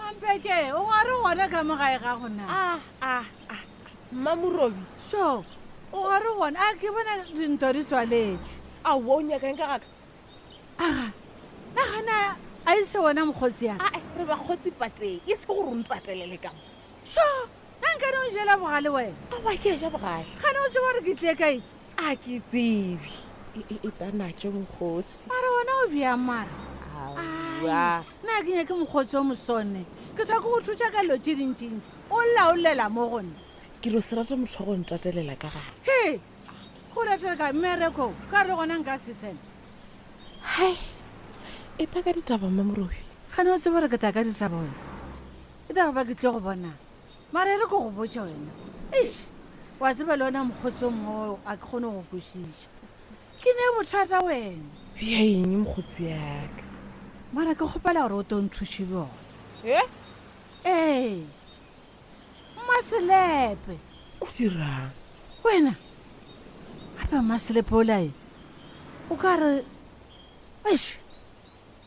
Mampeke, o gare gona ka mo gae ga gona? Ah, ah, ah. Mmamorubi. So, o gare gona? A ke bona dintho di tswaletšwe. Aowa, o nyakang ka gaka? Aga, nagana a e se wona mokgotsi ya? Ae, re bakgotsi pateng, e se gore o ntatelele ka mo. So, na nkane o jela bogale wena? Aowa, ke a ja bogale. Gane o tseba gore ke tlie kae? A ke tsebe. E, e, e ta natšo mokgotsi. Mara wena o bjang mara? Aowa. Nna ke nyake mokgotsi o mosone. Ke tlhoka go thuša ka dilo tše dintšintši. O laolela mo go nna. Ke no se rate motho wa go ntatelela ka gare. He! Go ratela ka mmereko ka re gona nka se sena. Hai! E ta ka ditaba Mmamorobi. Gane o tseba gore ke ta ka ditaba wena. E tla re ba ke tlo go bona. Mara e re ke go botša wena. Eish! Wa tseba le ona mokgotsi o mongwe o a ke kgone go kwešiša. Ke ne bothata wena. Bja eng mokgotsi yaka? Mara ke kgopela gore o to nthuše bjona. E? Ee. Mmaselepe. O dirang? Wena. Gape Mmaselepe olae. O ka re eish.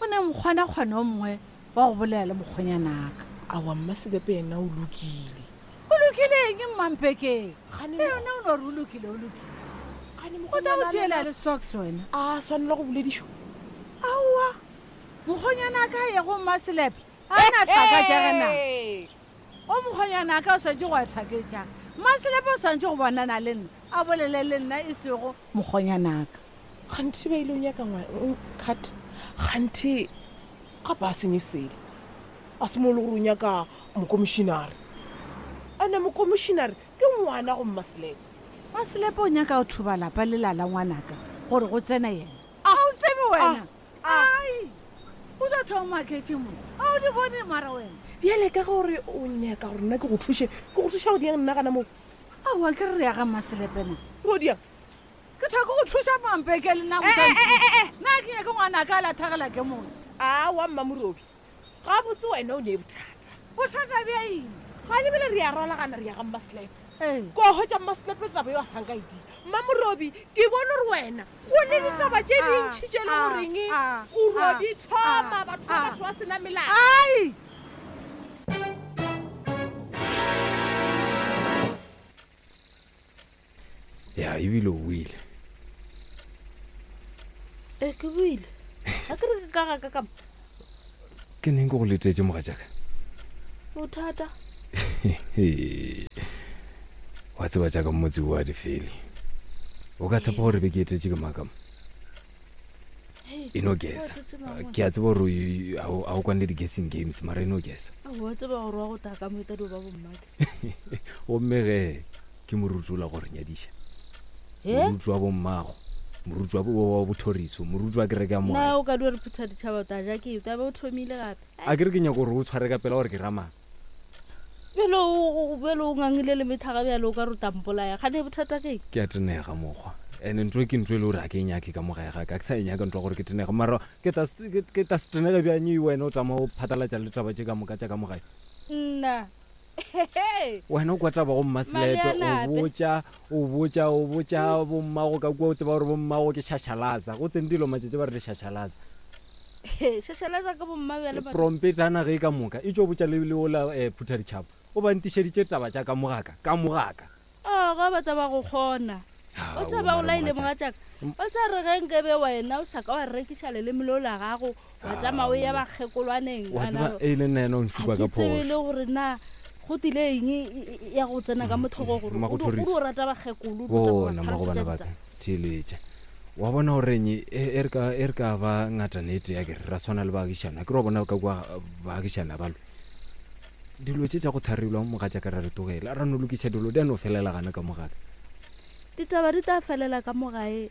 O ne mokgwanakgwana o mongwe wa go bolela le mokgwenyanaka. Aowa Mmaselepe yena o lokile. O lokile eng Mmampekeng? Le yona o no re o lokile o lokile. O tla go tšeela le socks wena. A swanelwa go boledišwa? Aowa mokgwenyanaka a ye go Mmaselepe a na hlaka tša ge na. O mokgwenyanaka o swanetše go a hlaketša. Mmaselepe o swanetše go bonana le nna a bolele le nna e sego mokgwenyanaka. Kganthe ba ile o nyaka ngwa cut kganthe gape a senye selo a se mo le gore o nyaka mokomišinare ene mokomišinare ke ngwana go mmaselepe Maselepe o nyaka go thuba lapa lela la ngwanaka gore go tsene yena a o tsebe wena ai o tlo thoma maketše mo a o di bone mara wena bjale ka gore o nyaka gore nna ke go thuše ke go thuša go diang nna gana moo aowa ke re re ya ga mmaselepe na go diang Ke thwa ke go thuša Mampeke le nna go tla nthuša. Nna ke nyake ngwanaka a lathagela ke motse. Aowa Mmamorubi, gabotse wena o ne bothata. Bothata bja eng? Gane bjale re a rwalagana re ya ga Mmaselepe. Ee. Ko hwetša Mmaselepe taba yo a sa nka e dira. Mmamorubi, ke bone gore wena go ne ditaba tše dintši tše le goreng o ro di thoma batho ba batho ba se na melato. Ai! Ya, ebile o boile. E, ke boile. A ke re ke ka ga ka ka mo. Ke neng ke go letetše mogatšaka? Bothata. Wa tseba tša ka motse o a di fele. O ka tshepa gore be ke etetše ke maka mo? E no gesa. Ke a tseba gore a o kwane le di-guessing games mara e no gesa. Wa tseba gore wa go taka mo e tla dio ba bommake. Gomme ge ke moruti ola go re nyadiša. Moruti wa bommago, moruti wa wa bothoriso, moruti wa kereke ya mogae. Na o ka dio re phutha ditšhaba o tla ja ke eng? Taba o thomile gape. A ke re ke nyaka gore o tshware ka pela gore ke ramang. Bjale o bjale o ngangile le methaga bjale o ka re o tla mpolaya. Kgane bothata ke eng? Ke a tenega mokgwa. Ene ntho e ke ntho e le gore ga ke e nyake ka mo gae ga ka. Ke sa e nyaka ntho ya gore ke tenege. Mara ke tla ke tla se tenege bjang wena o tšama o phatlalatša le taba tše ka moka tša ka mo gae? Nna Wena o kwa taba go mmaselepe, o botša, o botša, o botša bommago ka kua, o tseba gore bommago ke šašalaza. Go tsene dilo matšatši ba re di šašalaza. Šašalaza ka bomma bjale ba. Prompetana ge ka moka e tšo botša le le ola eh, Phuthaditšhaba. O ba ntišeditše taba tša ka mogaka, ka mogaka. Oh, ga ba tla ba go kgona. O tla ba o laile mogatšaka. O tla re ge nkebe wena o sa ka wa rekiša leleme leo la gago wa tšama o ya bakgekolwaneng. Wa tseba e le nna yena o nšupa ka phošo. Ga ke tsebe le gore na go tile eng ya go tsena ka motlhogo gore o rata bakgekolo. Bona magobana ba ka theeletša. Wa bona gore eng e re ka ba ngatana e tee a kere ra swana le baagišana. Ke re wa bona ka kua baagišana ba lwe. Dilo tše tša go tharilwa mogatšaka ra re togela, ra no lokiša dilo di a no felela gana ka mo gaka. Ditaba di tla felela ka mo gae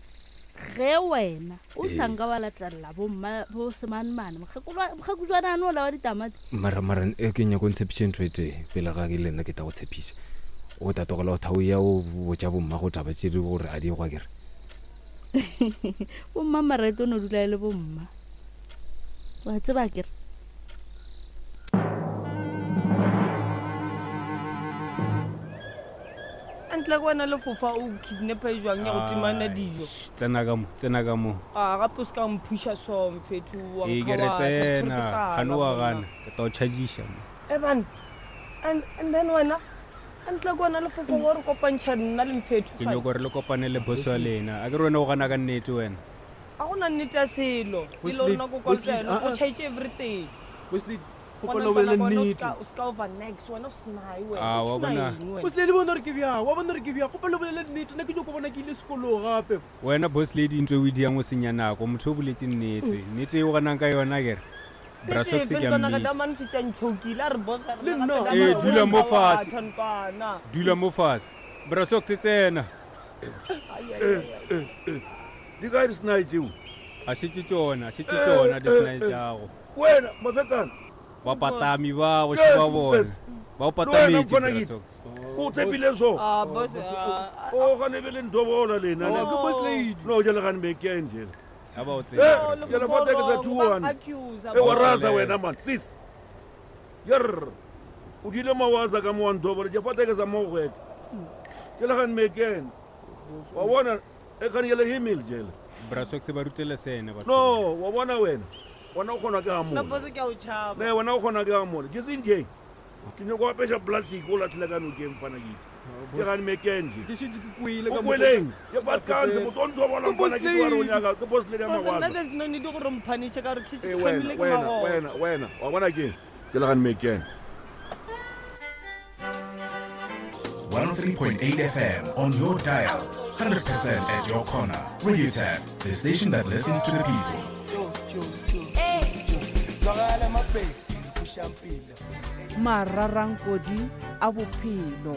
ge wena o sa nka wa latelela bomma bo semanmane mokgekujwana ane ola wa ditamati. Mara mara e ke nyako ntshepiše ntho e tee pele ga ke le nna ke tla go tshepiša. O tla tlogela go thauya o botša bomma go taba tše di gore a di gwa kere. Bomma mara e tlo no dula e le bomma. Wa tseba kere. Ntle ke wena lefofa o kidnapper e jwang ya go timana dijo. Tsena ka mo, tsena ka mo. A gape o se ka mphuša so mfethu wa Ee, ke re tsena, gane wa gana, ke tla o chargiša mo. Eban and and then wena a ntle ke wena lefofo wa re kopantšha nna le mfetho Ke nyoko re le kopane le boss wa lena. A ke re wena o gana ka nnete wena. A go na nnete ya selo. Ke le rona ko Wesley, kwantlo ah, o ah. tšhaitše everything. Wesley, Gona kgopela o bolele ntlwana kwa, wena o nnete. ska- o ska over next wena o senai wena Ah, o wa tšhina bona. eng wena? Wesley le bona gore ke bjang wa bona gore ke bjang kgopela o bolele nnete nna ke nyoko bona ke ile sekolong gape Wena boss lady ntho e o e diang o senya nako. Motho o boletse nnete. Nnete e o ganang ka yona ke re. Bra Nnete Socks efe ke a ntlwana ka mmitsa. damane šetše a ntšhokile, a re boss a re Le gape nna. damane Ee, o dula mo nka wa fase. batho ntlwana. Dula mo fase. Bra Socks tsena. Ai, ai, ai, ai. Di kae disenai tšeo? A šetše tšona, a šetše tšona disenai tšago. Wena, mafetana. Bapatami ba go šeba bona. Ba o Le wena, patametše mfana Bra ke- Socks. O tshepile so. Ah, boss, ah, O gane be le ntobola lena. Oh, ke boss lady. No, jale gane be ke eng jele. A ba o Eh, tsena. jale fa teke tsa Lefofo, ba 2-1. accuse, E wa boss. rasa wena man, sis. Yerr. O dile mawaza ka mo wa ntobola, je fa teke tsa mo gwete. Jale gane be ke eng. Wa bona e gane jele himil jele. Bra Socks ba rutele sene batho. No, wa bona wena. Wena o kgona ke Nna ha boss ke a o tšhaba. Ne wena o kgona ke ha mole. Ke seng je. Ke nyoko apeša plastic o latlhele ka nokeng fana ke itse. Ke gane me ke nje. Ke šetše ke kwele O ka kweleng? Ke fatkanse motho o ntobola Ke boss mfana ke tloga re o lady. nyaka. Ke boss lady ya Boss, nna mawaza. there's no need gore o mphanishe ka gore ke šetše Eh, ke wena kgamile ke wena magolo. wena wena wa bona ke ke le gane mekene 103.8 FM on your dial. 100% at your corner. Radio Tap, the station that listens to the people. Mararankodi a bophelo.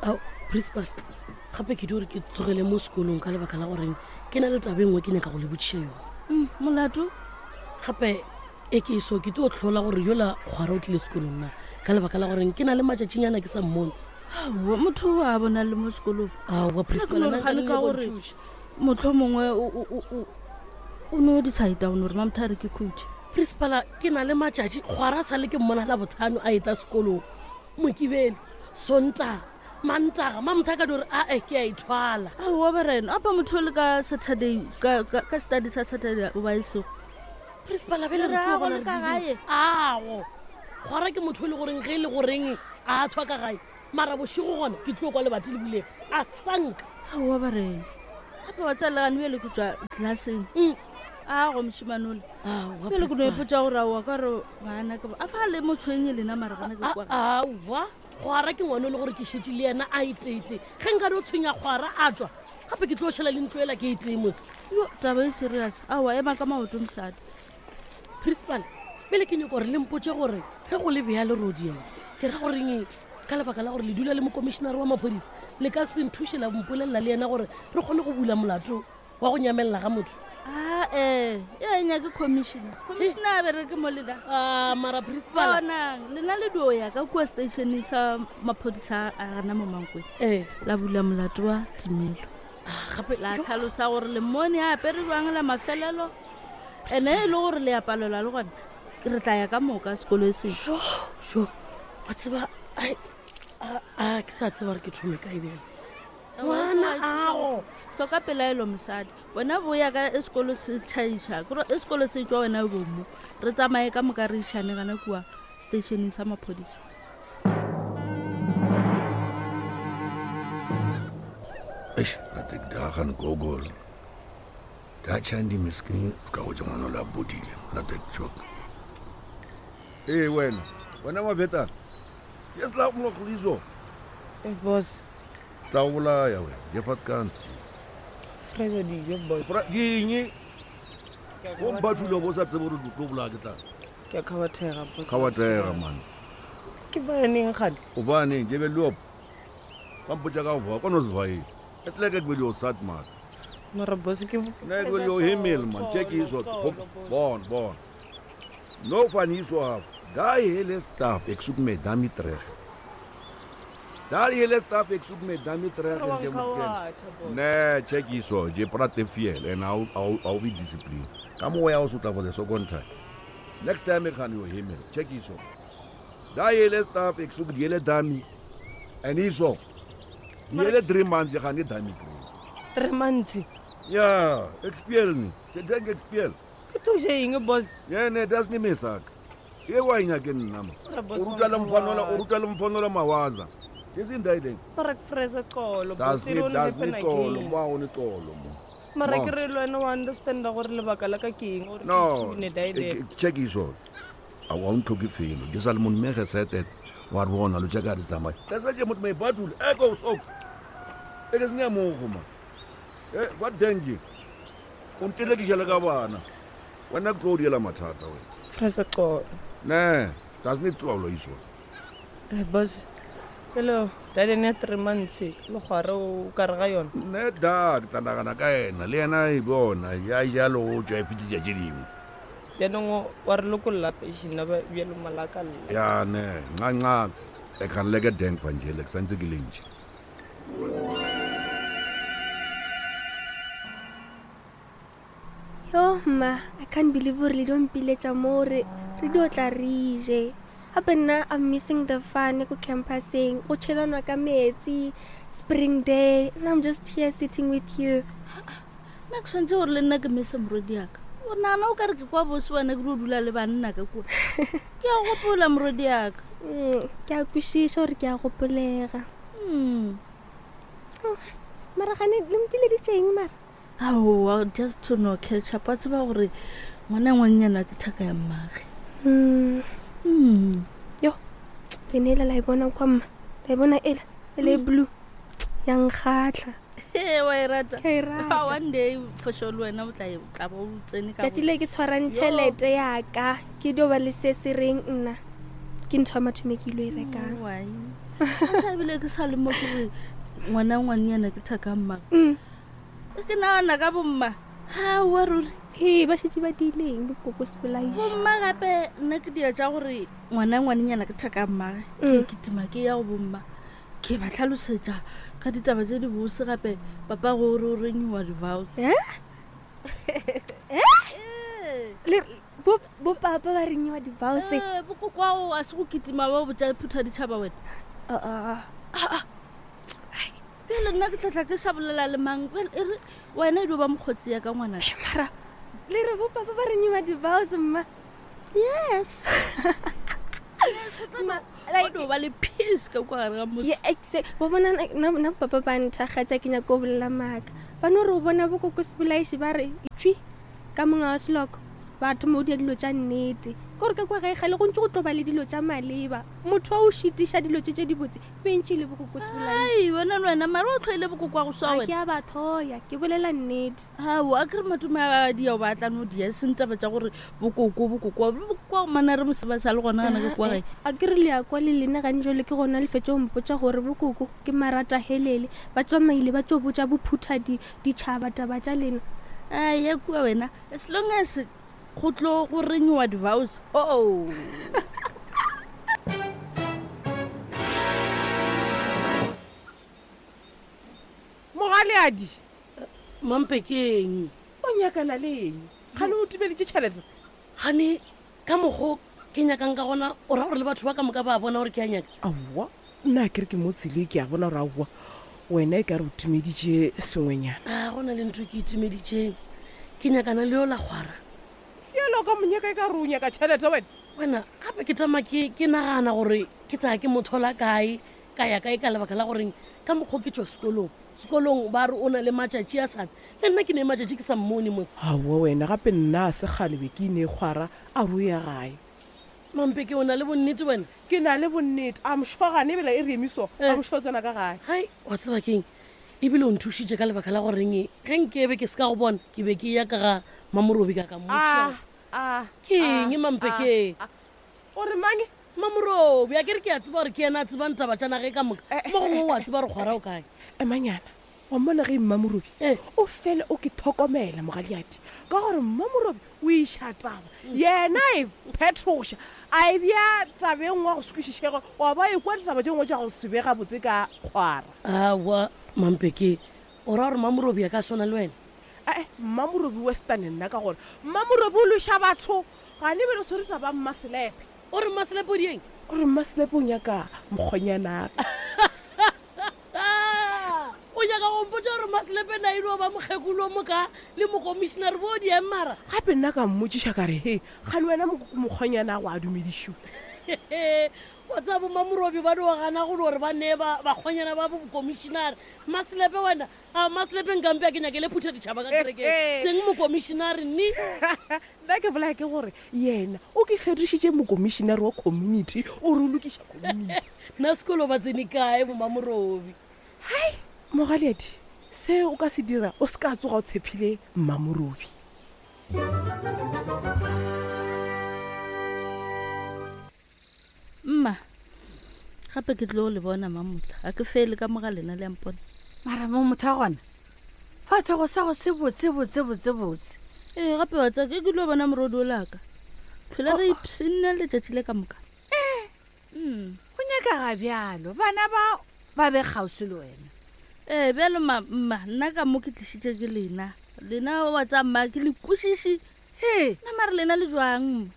Ao, principal gape ke di gore ke tsogele mo sekolong ka lebaka la goreng ke na le taba e nngwe ke nyaka go le botšiša yone. Molato Gape e ke so ke tlo tlhola gore yola kgwara o tlile sekolong na ka lebaka la goreng ke na le matšatšinyana ke sa mmone. Aowa, motho o a bona le mo sekolong. Aowa, principal, Nna nna ke no re nka gane le ka go gore nthuša. motlho mongwe o no decide o no re mamotho a re ke khutše. Principal, ke na le matšatši kgwara sa le ke mmona la bothano a eta sekolong mokibelo sontaga mantaga mamotho a ka di gore ae ke a ithwala. Aowa berena apa motho o le ka Saturday ka study sa Saturday o ba e sego. Principal, bjale re Re tlo a bona go le ka re gae? dirile. Ago kgwara ke motho e le goreng ge e le goreng a tshwa ka gae mara bošego gona ke tlo kwa lebati le bulega a sanka. Aowa berena gape wa tsalegane bjale ke tswa classeng. Ago mošemane ole. Aowa, Bjale ke no principal. ipotša gore aowa ka gore bana ke a fa le motshwenye lena mara gana ke kwa. Aowa kgwara ke ngwane o le gore ke šetše le yena a eteete ge nka di o tshwenya kgwara a tswa gape ke tlo šala le ntlo ela ke etee mose. Yo, taba e serious. Aowa ema ka maoto mosadi. Principal pele ke nyako gore le mpotse gore ge go le bea lerodi ena ke ra goreng ka lebaka la gore le dula le mokomišenare wa maphodisa le ka se nthuše la mpolelela le yena gore re kgone go bula molato wa go nyamelela ga motho. Ah, eh, e a nyake commissioner. Commissioner a bereke mo lena. Ah, mara principal. Bonang, lena le dio ya ka kua stationeng sa maphodisa a gana mo Mankweng. Eh. La bula molato wa timelo. Gape La tlhalosa gore le mmone a apere jwang la mafelelo. Ene e le gore le a palelwa le gona re tla ya ka moka sekolo e seng. Jo, jo. Wa tseba ai a ke sa tseba gore ke thome kae bjale. Ngwana ago. Hloka pelaelo mosadi. Wena boya ka e sekolo se tšhaiša. Kore e sekolo se tšwa wena o bo mo. Re tsamaye ka moka re išane gana kua stationeng sa maphodisa. Eish, rate ke dagan Google. Da chandi miskin ka go tša ngwana la bodile, rate ke tšok. Ee wena, wena mafetana. Ke se la go mlogliso. Eh, boss. Tla go bolaya wena, je fatkanse. Fresh dijo boss. Fra ke eng? O mbathule bo sa tsebe gore o tlo bolaya ke tla. Ke a kgabathega boss. Kgabathega man. Ke baneng gane? O baneng je be loop. Ba mpotša ka go voa, kono se vae. E tle ke be dio sat man. Mara boss ke Ne ke yo hemel man, check iso. Bon, bon. No van hierso af. Daai hele staf, ek soek my dummy terug. Daai hele staf, ek soek my dummy terug en jy moet ken. Nee, check hierso, jy praat te veel en hou be discipline. Ka moya o sotla for the second time. Next time ek gaan jou hemel. Check hierso. Daai hele staf, ek soek die hele dummy. En hierso. Di ele 3 months ga ne dami green. 3 months? Ja, ek speel nie. Ke dink ek speel. Ke tlo ja eng, boss? Yeah, nee, das nie my saak. E wa enya ke nna ma. Mara boss, O ruta le wa mfanola, o nrata. ruta le mfanola mawaza. Ke seng daai ding. Mara ke fresa xolo, Das boss, e nie don't das happen nie xolo, again. mo a o ne xolo mo. Mara Mo. ke re le wena wa understanda gore lebaka la ka ke eng gore No, ke ne daai ek- check iso. A wa ntlhoke felo. Ke sa le mon mege setet. Wa re bona lo check a di tsamaya. That's why moet my batul ek o socks. Ek is nie mogo man. Eh, wat dink jy? O ntelekisa le ka bana. Wena ke tlo o diela mathata wena. Fresa xolo. Nee, das nie xolo iso. Eh, boss, pele daai ya 3 months le kgware o ka re ga yona. Ne da, ke tla nagana ka ena le yena e bona ya jalo o tswa e fitlhitša tše dingwe. Bjanong wa re lokolla pešina bjalo malaka lla. Ya ne, nca nca. Ek gaan lekker dink van julle, ek santse ke le ntši. Yo mma, I can't believe gore le dio mpiletša mo re re dio tla re je. Gape nna I'm missing the fun ko campuseng, go tšhelanwa ka metsi, spring day, and I'm just here sitting with you. Nna ke tshwanetse gore le nna ke mese morodi yaka. O nagana o ka re ke kwa bose wena ke dio dula le banna ka kua. Ke a gopola morodi yaka. Ke a kwešiša gore ke a gopolega. Oh, mara gane le mpileditše eng mara? Aowa, just to no catch up. Wa tseba gore ngwana ngwannyana ke thaka ya mmage. Yo, vene ela la e bona kwa mma, la e bona ela, ela e blue. Ya nkgatlha. Ee, wa e rata. Ke a e rata. Ah, one day for sure le wena o tla e- o tla bo o tsene ka Tšatši le ke tshwarang Yo. tšhelete yaka, ke dio ba le se se reng nna. Ke ntho ya mathomo e ke ilo e rekang. Wai. Ntse ebile ke sa le mo ke re ngwana ngwannyana ke thaka ya mmage. Ke nagana ka bomma. Aowa ruri. He, ba šetše ba diileng bokoko sepolaiši. Bomma gape nna ke dia tša gore ngwana ngwanenyana ke thaka ya mmage. Ke kitima ke ya go bomma. Ke ba tlhalosetša ka ditaba tše di bose gape papa go re o renewa di-vows. Eh? Le bo bo papa ba renewa di-vows. Eh, bokokwago a se go kitima ba botša phutha ditšhaba wena. Ah, Bjale nna ke tlatla ke sa bolela le mang. Bjale e re wena e dio ba mokgotsi ya ka ngwana. Mara le re bo papa ba renewa di-vows mma. Yes. O dio ba le peace ka kwa gare ga motse. Ke exe bo bona nna nna papa ba nthagatša ke nyaka go bolela maaka. Ba no re o bona bokoko sepolaiši ba re tšwi ka monga wa seloko ba thoma o dia dilo tša nnete. Ke gore ka kwa gae gale go ntse go tlo ba le dilo tša maleba. Motho wa o šitiša dilo tše tše dibotse bentše le bokoko sepolaiši. Ai, wena le wena mara o tlhoile bokoko wa go swa Ga wena. ke a ba thoya, ke bolela nnete. Ao, a ke re matome a ba dia o ba tla no dia seng taba tša gore bokoko bokoko bokoko wa mana re mose ba sa le gona gana ke kwa gae. A ke re le ya kwa le lena gane jwale ke gona le fetše go mpotša gore bokoko ke marata helele ba tsamaile ba tšo botša bophutha ditšhaba taba tša lena. Ai, ya kua wena as long as go tlo go renewa di-vows. Oh. Mogaleadi. Mampe ke eng? O nyakana le eng? Gane o timeditše tšhelete? Gane ka mokgo ke nyakang ka gona o ra gore le batho ba ka moka ba bona gore ke a nyaka. Aowa, nna a kere ke mo tsele ke a bona gore aowa wena e ka re o timeditše sengwenyana. A go na le ntho ke itimeditšeng. Ke nyakana le yo la kgwara. Bjalo ka monyaka e ka re o nyaka tšhelete wena. Wena gape ke tama ke ke nagana gore ke tsaya ke mothola kae ka ya kae ka lebaka la goreng ka mokgo ke tšwa sekolong. Sekolong ba re o na le matšatši a sana. Le nna ke ne matšatši ke sa mmone mose. Aowa wena gape nna a se kgale be ke ine kgwara a re o ya gae. Mampeke o na le bonnete wena? Ke na le bonnete. I'm sure gane ebile e re emiso. I'm sure o tsena ka gae. Hai, wa tseba keng? Ebile o nthušitše ka lebaka la goreng ge nkebe ke se ka go bona ke be ke ya ka ga Mamorobi ka ka mmotšiša. Ke eng Mampeke? O re mang? Mamorobi, a ke re ke a tseba gore ke yena a tsebang taba tša nage ka moka. Mo gongwe o a tseba gore kgwara o kae. Emanyana, wa mmona ge Mmamorobi o fele o ke tlhokomela mogaleadi ka gore Mmamorobi o iša taba yena e phethoša a e bja tabeng wa go se kwešišege wa ba e kwa ditaba tše dingwe tša go se be gabotse ka kgwara. Aowa Mampeke, o ra gore Mamorobi a ka swana le wena? Ae, Mmamorobi western nna ka gore Mmamorobi o loša batho gane bele o swere taba Mmaselepe. O re Mmaselepe o dieng? O re Mmaselepe o nyaka mokgonyanaka. Mmaselepe na ile ba mokgekolo moka le mokomišenare bo di eng mara? Gape nna ka mmotšiša ka re, He, kgane wena mokgonyana go a dumedišiwe? Wa tseba boMamorobi ba dio gana go gore ba nee bakgonyana ba bokomišenare. Mmaselepe wena, a Mmaselepe nkampe a ke nyakele phutha ditšhaba ka kerekeng, seng mokomišenare nni. Nna ke bolaya ke gore yena o ke fetošitše mokomišenare wa community, o re o lokiša community. Nna sekolo ba tsene kae boMamorobi? Hai, Mogaleadi, se o ka se dira o se ka tsoga o tshephile Mmamorobi. Mma, gape ke tlo le bona mamotla, ga ke fele ka moga lena le a mpona. Mara mo motho a gona, fatlhogo sa go se botse botse botse botse. Ee, gape wa tsaka ke tlo bona morodi o laka. Phela re ipshinne letšatši le ka moka. Ee, mm. go nyakaga bjalo bana ba ba be kgauswi le wena. Ee, bjalo ma, mma, nna ka mo ke tlišitše ke lena. Lena wa tsa mma ke le kwešiši. He. Nna mare lena le jwang mma?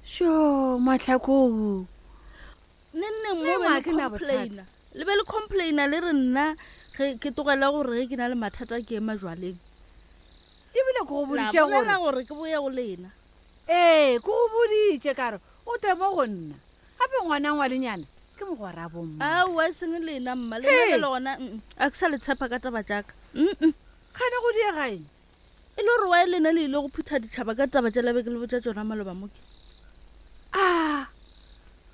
Sho, matlhakong. Neng neng mo be le complaina. Le be le complaina le re nna ge ke tlogela gore ge ke na le mathata ke ema jwaleng. Ebile ke go boditše gore. La bolela gore ke boye go lena. Ee, ke go boditše ka re o tle mo go nna. Gape ngwana ngwalenyana ke mogwera bomma. Aowa e seng lena mma, lena Hei! bjale gona mm, a ke sa le tshepa ka taba tša ka. Mm-mm. Kgane go diega eng? E le gore wa lena le ile go phutha ditšhaba ka taba tša labe ke le botša tšona maloba mo ke. Ah!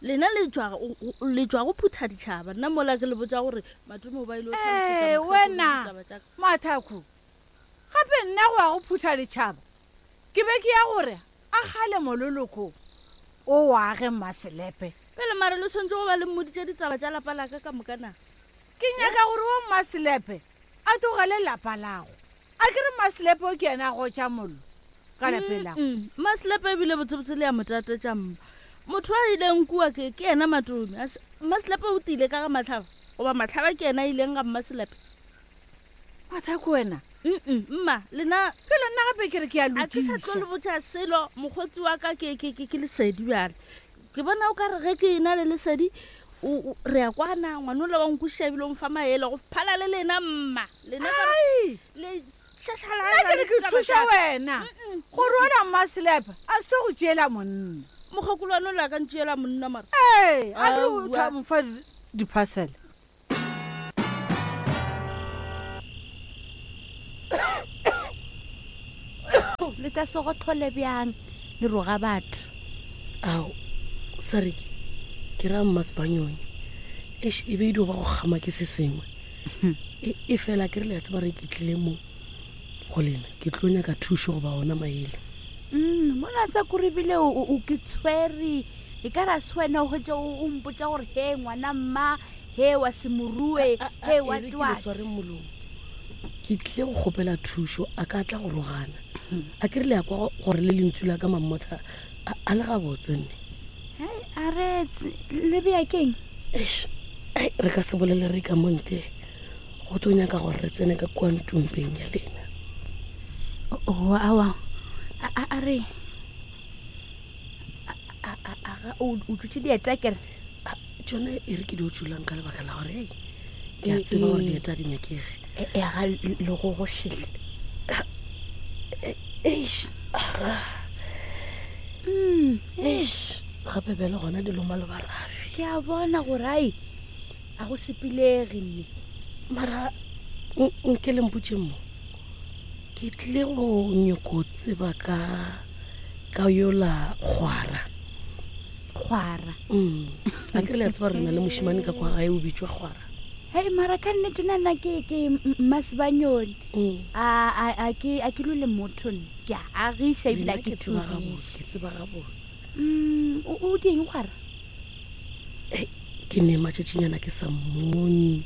Lena le tšwa go- go- le tšwa go phutha ditšhaba nna mola ke le botša gore matome o ba ile go hlalosetša Ee, mokgekolo wena ditaba tša ka. Mathaku, gape nna go ya go phutha ditšhaba Ke be ke ya gore a gale mololoko o wa ge Mmaselepe. Pele mare le tshwanetse go ba le mmoditše ditaba tša lapa la ka ka moka na? Ke nyaka gore wo Mmaselepe a tlogele lapa lago. A ke re Mmaselepe o ke yena a gotša mollo ka lapeng lago? Mm, Mmaselepe ebile botsebotse le ya mo tatetša mma. Motho a ileng kua ke, ke yena Matome. A se- Mmaselepe o tile ka ga Mahlaba goba Mahlaba ke yena a ileng ga Mmaselepe? Mathako wena. Mm mma, lena. Pele nna gape ke re ke a A ke sa tlo le lokiša. botša selo, mokgotsi wa ka ke, ke, ke, ke lesedi bjale. Ke bona o ka re ge ke ena le lesedi, o, o, re a kwana, ngwanola wa nkwešiša ebile o mfa maele go phala le lena mma. Lena ka re, Ai! le šašalala Nna ke le re ke ditaba thuša tša ka. wena gore ona Mmaselepe a se tlo go tšeela monna. Mokgekolo wa ka ntšeela monna mara. Ee, a ke re o Aowa. tla mo fa di-parcel. Le ka se gothole bjang le roga batho. Ao, Sariki, ke ra Mmasebanyoni. Eish, e be e dio ba go kgama ke se sengwe. E, e fela ke re le a tseba re ke tlile mo go lena, ke tlo nyaka thušo goba ona maele. Mm, mona tsa kore bile o, o ke tshwere e ka ra se wena o hwetša o mpotša gore he ngwana mma he wa se morue he wa E re ke le twat sware molomo ke tlile go kgopela thušo a ka tla go rogana a ke re le ya kwa gore le lentšu la ka mammotla a le gabotse nne Hei, a retse le bea keng Eish, ai, re ka se bolele re ka montle go tlo nyaka gore re tsene ka kua ntumpeng ya lena o awa a re o dutše dieta kere tšone e re ke di o tšulang ka lebaka la gore ei ke a tseba gore dieta di nyakege ga legogošele eish aga eish gape bjale gona di loma le barafi ke a bona gore ai a go sepelege nne mara nke le mpotše mo ke tlile go nyoko tseba ka ka yola kgwara kgwara mm. a ke re le a tseba re na le mošimane ka kwa gae o bitswa kgwara hei mara ka nnete nana ke ke mmasebanyone mm. a ke a ke lole motho nne ke a agiša ebile a ke tseba gabotse ke tseba gabotse mm, o dieng kgwara ke ne matšatšinyana ke sa mmone.